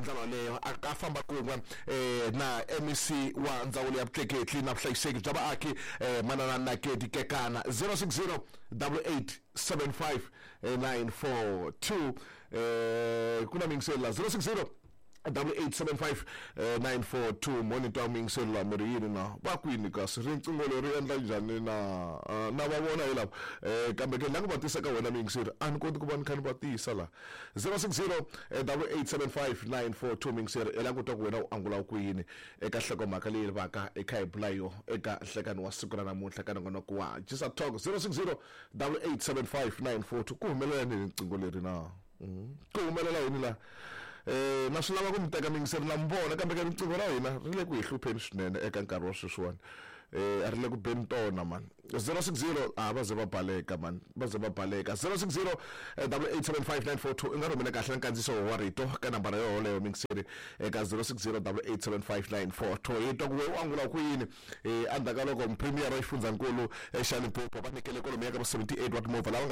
Hi ndlela yaleyo a famba kun'we na MEC wa ndzawulo ya vutleketli na vuhlayiseki bya vaaki, manana Nakedi Kekana. 060 88 75 942. Ku na miyingiseli la, 060 8875 942. Monitor miyingiseli la, mi ri yini na va kwini? Kasi riqingho leri endla njhani na? Na va vona hi lava, kambe ke la ku va tisa ka wena miyingiseri, a ni koti ku va ni kha ni va tisa la. 060 8875 942. Miyingiseri, i la ku twa ku wena u angula ku yini eka nhlokomhaka leyi vaka eka hi bula yo eka nhlekani wa siku ra namuntlha ka nongonoko wa Gisa Talk. 060 8875 942. Ku humelela yini riqingho leri na? Ku humelela yini la? Na swi lava ku mi teka miyingiseri, na mi vona, kambe ka riqingho ra hina ri le ku hi hlupheni swinene eka nkarhi wa sweswiwani, a ri le ku beni tona mani. 060, a va ze va baleka mani, va ze va baleka. 060 8875 942. I nga rhumela kahle na nkandziyiso wa rito ka nambara yo yoleyo miyingiseri, eka 060 8875 942, hi twa ku we u angula ku yini endzhaku ka loko premier wa xifundzankulu xa Limpopo va nyikele kwalomuya ka va 78 wa timovha lava nga